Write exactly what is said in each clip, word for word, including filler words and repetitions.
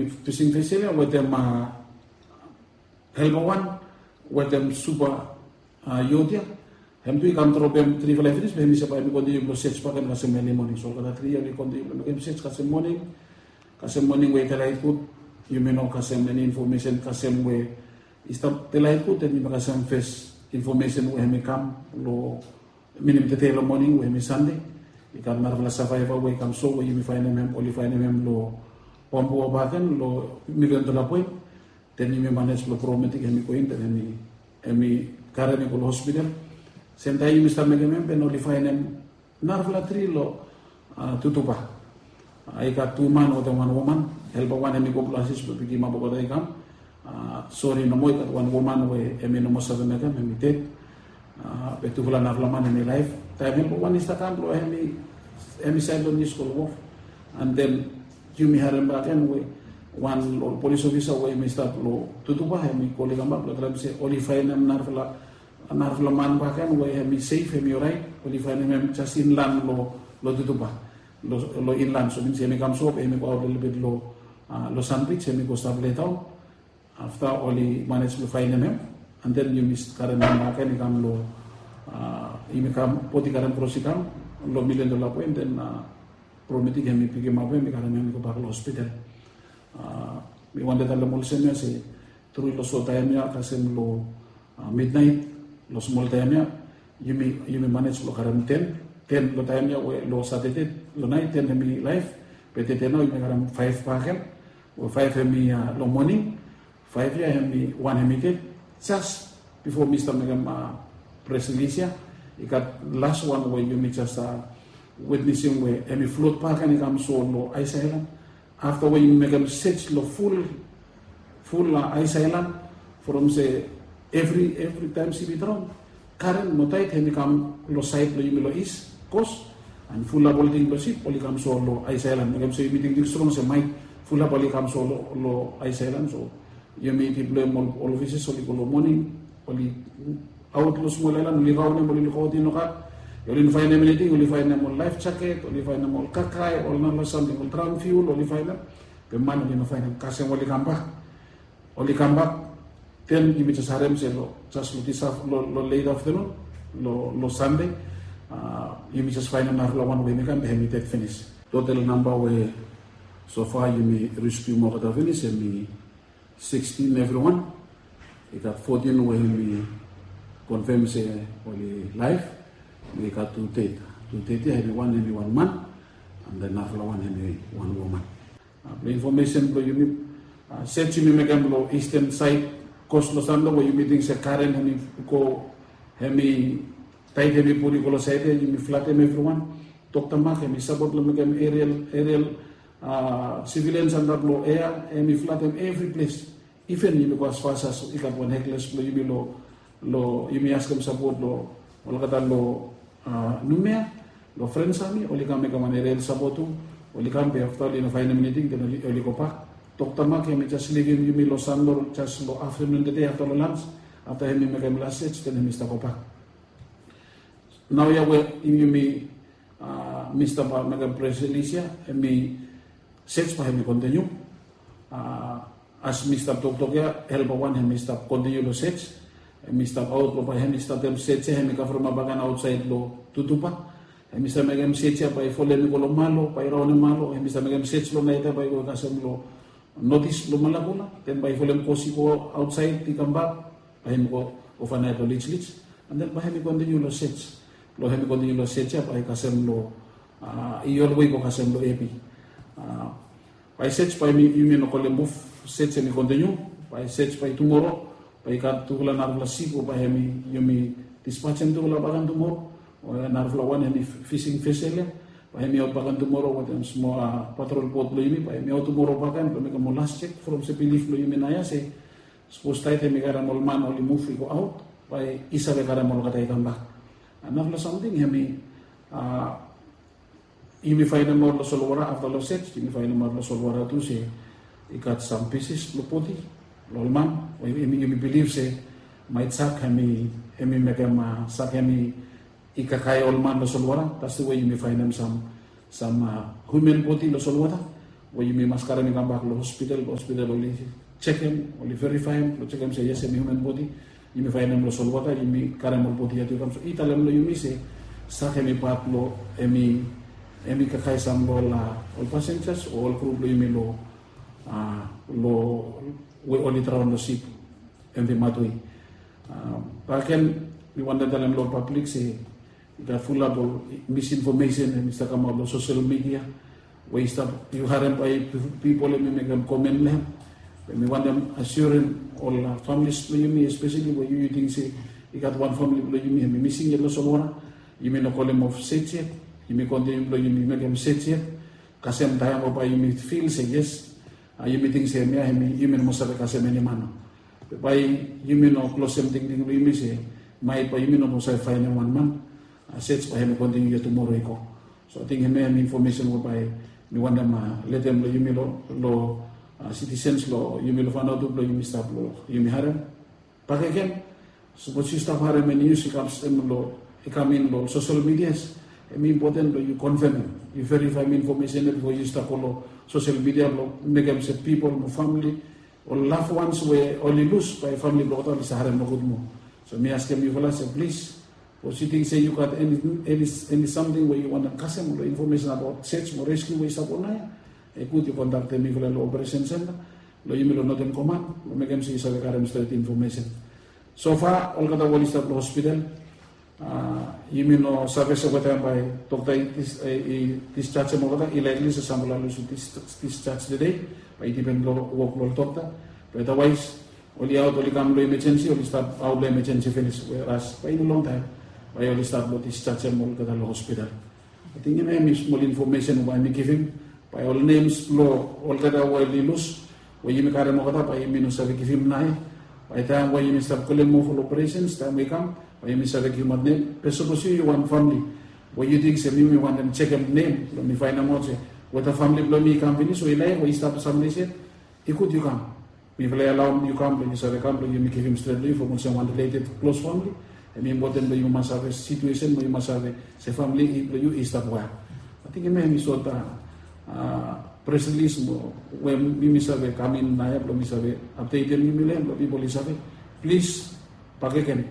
Fising fesel ya wetem helpa wan wetem supa yot ya. Hem tu i kam dropem trifala i finis be hem i save bae hem i kontiniu blong sej bakegen kasem eli moning. So olgeta tri ya oli kontiniu blong mekem sej kasem moning. Kasem moning we i delaet gud, yumi no kasem eni infomesen kasem we i stap delaet gud, den yumi kasem fes infomesen we hem i kam long minim tede long moning we hem i Sande. I gat narafala savaeva we i kam so we yumi faenem hem, oli faenem hem long Bambua bakegen long Milion Dola Point. Den yumi manej blong prometing hem i go in, den hem i karem i go long hospital. Semtaem yumi stap mekem hem, den oli faenem narafala tri long Tutuba. I gat tu man wetem wan woman. Helpa wan hem i go blong asis blong pikimap olgeta i kam. Sori nomo, i gat wan woman we hem i no moa save mekem, hem i ded. Be tufala narafala man hem i laef. Taem helpa wan i stap kam blong hem i saed long nius go long wof. And then yumi harem bakegen we wan long ol polis ofisa we hem i stap long Tutuba hem i kol i kambak blong talem se oli faenem narafala narafala man bakegen we hem i sef, hem i oraet. Oli faenem hem jes inlan long Tutuba, long inlan. So minim se hem i kam so be hem i go aot lelebet long Sandbij, hem i go stap letaon. Afta oli manej blong faenem hem, and then yumi karem hem bakegen i kam long, yumi kam bot i karem kros i kam long Milion Dola Point, and then prometing hem i pikimap hem, i karem hem i gobak long hospital. Mi wantem talem olsem ya se tru long so taem ya kasem long midnaet, long smol taem ya yumi manej blong karem ten, ten long taem ya we long Satade long naet ten hem i laef. Be tede nao yumi karem faef bakegen, we faef hem i long moning. Faef ya hem i wan hem i ded. Jes bifo mi stap mekem pres rilis ya, i gat las wan we yumi jes witnesim we hem i flot bakegen i kam so long Aes Aelan. Afta we yumi mekem sej long ful, ful Aes Aelan, from se evri, evri taem sip i draon, karen mo taet hem i kam long saed blong yumi long is kos, and fulap ol ting blong sip oli kam so long Aes Aelan. Mekem so yumi tingting strong se maet fulap oli kam so long Aes Aelan. So yumi diploem ol ofisas, oli go long moning, oli aot long smol aelan, oli raonem, oli lukaot i no gat. Oli no faenem eniting, oli faenem ol laef jaket, oli faenem ol kakae, ol narafala samting, ol draon fiul oli faenem. Be man oli no faenem. Kasem oli kambak, oli kambak. Den yumi jes harem se long, jes long disaf, long late afternoon, long Sande, yumi jes faenem narafala wan we hem i kam be hem i ded finis. Total namba we so far yumi reskium olgeta finis hem i sixteen evriwan. I gat fourteen we yumi konfem se oli laef. I gat tu ded, tu ded ya hem i wan, hem i wan man, and then narafala wan hem i wan woman. Blong infomesen blong yumi, sej yumi mekem long isten saed kos long Sande we yumi ting se karen hem i go, hem i taet, hem i pul i go long saed ya, yumi flatem evriwan. Dokta Mak hem i sapot long mekem aerial, aerial, sivilians antap long ea, hem i flatem evri ples. Iven yumi go asfas as i gat wan hekles blong yumi long, long yumi askem sapot long olgeta long Numea, long Frens Ami, oli kam mekem wan aerial sapot tu. Oli kam be afta oli no faenem eniting, den oli gobak. Dokta Mak hem i jes livim yumi long Sande jes long aftenun tede afta long lans. Afta hem i mekem las sej, den hem i stap gobak. Naoia we yumi mi stap mekem pres rilis ya, hem i sej bae hem i kontiniu. As mi stap toktok ya, helpa wan hem i stap kontiniu long sej. Hem i stap aot blong bae hem i statem sej ya, hem i kavremap bakegen aotsaed long Tutuba. Hem i stap mekem sej ya bae i folem i go long Malo, bae i raonem Malo. Hem i stap mekem sej long naet ya bae i go kasem long notis long Malakula. Den bae i folem kos i go aotsaed i kambak, bae hem i go ovanaet long Lijlij. And then bae hem i kontiniu long sej. Long hem i kontiniu long sej ya bae i kasem long, i olwe i go kasem long Epi. Bae sej bae yumi no kolem of, sej hem i kontiniu. Bae sej bae tumoro bae i gat tufala narafala sip we bae hem i, yumi dispajem tufala bakegen tumoro. Narafala wan hem i fising vesel ya, bae hem i aot bakegen tumoro wetem smol patrol bot blong yumi. Bae hem i aot tumoro bakegen blong mekem ol las jek from se bilif blong yumi naoia se sapos taet hem i karem ol man oli muv i go aot, bae i save karem olgeta i kambak. Narafala samting hem i, yumi faenem aot long solwota afta long sej, yumi faenem aot long solwota tu se i gat sam pisis blong bodi blong ol man we yumi bilif se maet sak hem i, hem i mekem sak hem i kakae ol man long solwota. That's the way yumi faenem sam, sam human bodi long solwota. we yumi mas karem i kambak long hospital, hospital oli jekem, oli verifaem, long jekem se yes, hemi human bodi. Yumi faenem long solwota, yumi karem ol bodi ya tu i kam. So i talem long yumi se sak hemi pat long, hemi, hemi kakae sam long ol, a, ol passengers o ol kru blong yumi long, a, long we oli draon long sip, MV Matwei. A, bakegen mi wantem talem long ol pablik se i gat fulap ol misinformation hemi stap kamaot long social media we i stap, yu harem bae pipol hemi mekem komen long hem. Be mi wantem assurem ol, a, families blong yumi, especially we yu, yu ting se i gat wan famili blong yumi hemi mising yet long solwota. Yumi no kolem of search yet. Yumi kontiniu blong yumi mekem search yet kasem taem we bae yumi fil se yes, a, yumi ting se hemia hemi, yumi no moa save kasem eni man. Be bae yumi no klosem tingting blong yumi se maet bae yumi no moa save faenem wan man. A, search bae hemi kontiniu yet tumoro i go. So ating hemia hemi infomesen we bae mi wantem, a, letem long yumi long, long, a, sitisens blong yumi long Vanuatu blong yumi stap long yumi harem. Bakegen, sapos yu stap harem eni nius i kam sem long, i kam in long social medias, hemi impoten blong yu konfemem, yu verifaem infomesen ya bifo yu stap go long social media blong mekem se pipol mo famili, ol loved ones we oli lus, bae famili blong olgeta oli save harem nogud moa. So mi askem yufala se plis, sapos yu ting se yu gat eni, eni, eni samting we yu wantem kasem long infomesen abaot search mo rescue we i stap go naoia, i gud yu kontaktem mifala long operation center blong yumi long Northern Command blong mekem se yu save karem stret infomesen. So far olgeta we oli stap long hospital, a, yumi no save se weta bae dokta i dis, e, i disjajem olgeta. I laekli se samfala lusim dis, disjaj tede, bae i dipen long wok blong ol dokta. Be otherwise oli aot, oli kam long emergency, oli stap aot long emergency finis, weras bae i no longtaem bae oli stap long disjajem olgeta long hospital. Ating hemia hemi smol infomesen we bae mi givim. Bae ol nems blong olgeta we oli lus, we yumi karem olgeta, bae yumi no save givim naoia. Bae taem we yumi stap kolem moa ful operesens, taem we i kam, bae yumi save givimaot nem. Be sapos yu, yu wan famili we yu ting se mi, mi wantem jekem nem blong mi faenemaot se weta famili blong mi i kam finis o i laef o i stap samles yet, i gud yu kam. Mifala i alaoem yu kam blong yu save kam blong yumi givim stret long yu from olsem wan related klos famili. Hemi impoten blong yu mas save situesen, blong yu mas save se famili blong yu i stap wel. Ating hemia hemi sot, a, pres rilis mo we mi, mi save kam in naoia blong mi save apdetem yumi long hem blong pipol i save. Plis, bakegen,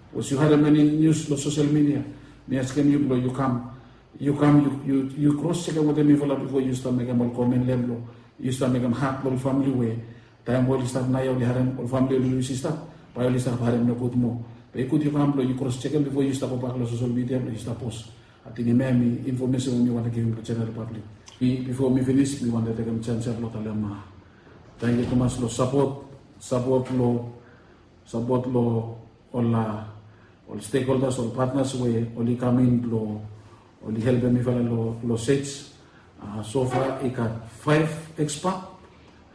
sapos yu harem eni nius long sosel midia, mi askem yu blong yu kam, yu kam, yu, yu, yu kros jekem wetem mifala bifo yu stap mekem ol komen long hem, blong yu stap mekem hat long ol famili we taem we oli stap naoia oli harem ol famili oli lus i stap, bae oli stap harem nogud moa. Be i gud yu kam blong yu kros jekem bifo yu stap gobak long sosel midia blong yu stap pos. Ating hemia hemi infomesen we mi wantem givim long jeneral pablik. Mi, bifo mi finis, mi wantem tekem janis ya blong talem, a, tangkiu tumas long sapot, sapot long, sapot long ol, a, ol stekholdas, ol patnas we oli kam in blong oli helpem mifala long, long sej. A, so far i gat faef ekspat,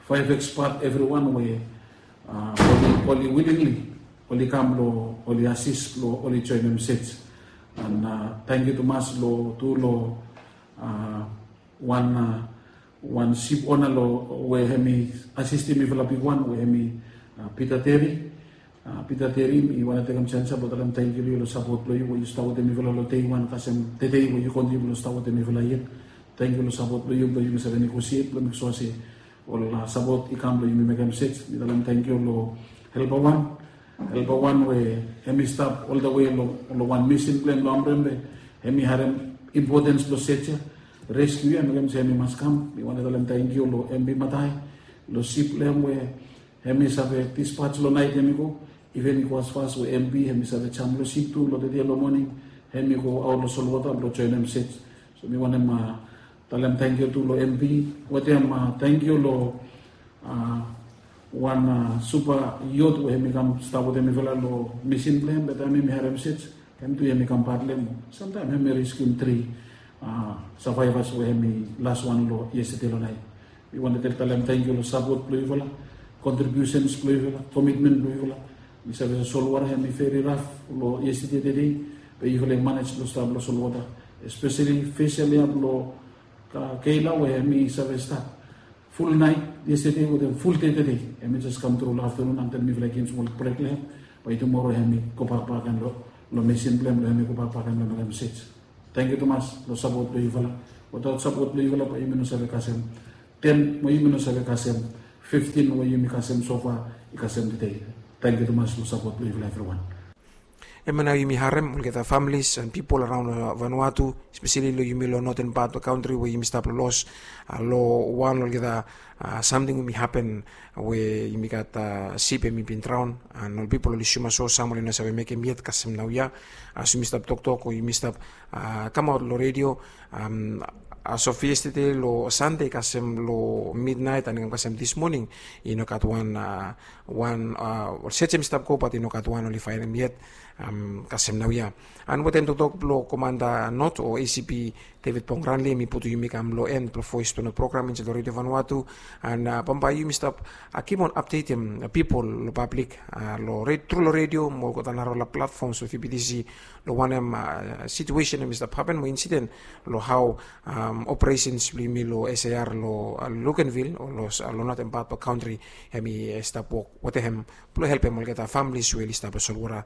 faef ekspat evriwan we, a, oli, oli willingly oli kam blong oli asis blong oli joenem sej. An, a, tangkiu tumas long, tu long, a, wan, a, wan sip ona long we hemi asistem mifala bigwan we hemi, a, Pita Teri. A, Pita Teri, mi wantem tekem janis ya blong talem tangkiu long yu long sapot blong yu we yu stap wetem mifala long dei wan kasem tede we yu kontiniu blong stap wetem mifala yet. Tangkiu long sapot blong yu blong yumi save negosiet blong meksua se ol, a, sapot i kam blong yumi mekem sej. Mi talem tangkiu long helpa wan, helpa wan we hemi stap oltawe long, long wan misin blong hem long Amrembe. Hemi harem impotens blong sej ya, reskiu ya, mekem se hemi mas kam. Mi wantem talem tangkiu long MP Matai, long sip blong hem we hemi save dispaj long naet hemi go. Iven i go asfas we MP hemi save jam long sip tu long tede long moning, hemi go aot long solwota blong joenem sej. So mi wantem, a, talem tangkiu tu long MP. Wetem, a, tangkiu long, a, wan, a, supa yot we hemi kam stap wetem mifala long misin blong hem, be taem hemi harem sej, hem tu hemi kam pat long hem. Samtaem hemi reskium tri, a, savaevas we hemi las wan long yestede long naet. Mi wantem talem tangkiu long sapot blong yufala, kontribiusens blong yufala, komitmen blong yufala. Mi save se solwota hemi veri raf long yestede tede, be yufala i manej blong stap long solwota, espeseli fes ya blong Kayla we hemi save stat ful naet yestede wetem ful dei tede. Hemi jes kamtru long aftanun antil mifala i givim smol brek long hem, bae tumoro hemi gobak bakegen long, long misin blong hem, long hemi gobak bakegen long mekem sej. Tangkiu tumas long sapot blong yufala. Wetaot sapot blong yufala bae yumi no save kasem ten we yumi no save kasem, fiftin we yumi kasem sofa i kasem tede. Tangkiu tumas long sapot blong yufala evriwan. Hemia nao yumi harem olgeta familis and pipol araon long Vanuatu, espeseli long yumi long noten pat blong kantri we yumi stap los long wan olgeta samting we yumi hapen, we yumi gat sip hem i bin draon, and ol pipol oli suma so sam oli no save mekem yet kasem naoia. As yumi stap toktok o yumi stap kamaot long redio, as of yestede long Sande kasem long midnait and i kam kasem dis moning, i no gat wan wan sejem i stap go bat i no gat wan oli faenem yet kasem naoia. And wetem toktok blong komanda not o ACP David Pongranli, mi putum yumi kam long en blong voes blong not program insaed long redio Vanuatu. And bambae yumi stap kipon apdetem pipol long pablik long tru long redio mo olgeta narafala platfoms blong VBTC long wanem situesen hem i stap hapen mo insiden long hao operesens blong yumi long SAR long Luganville o long noten pat blong kantri hem i stap wok wetem hem blong helpem olgeta familis we oli stap long solwota.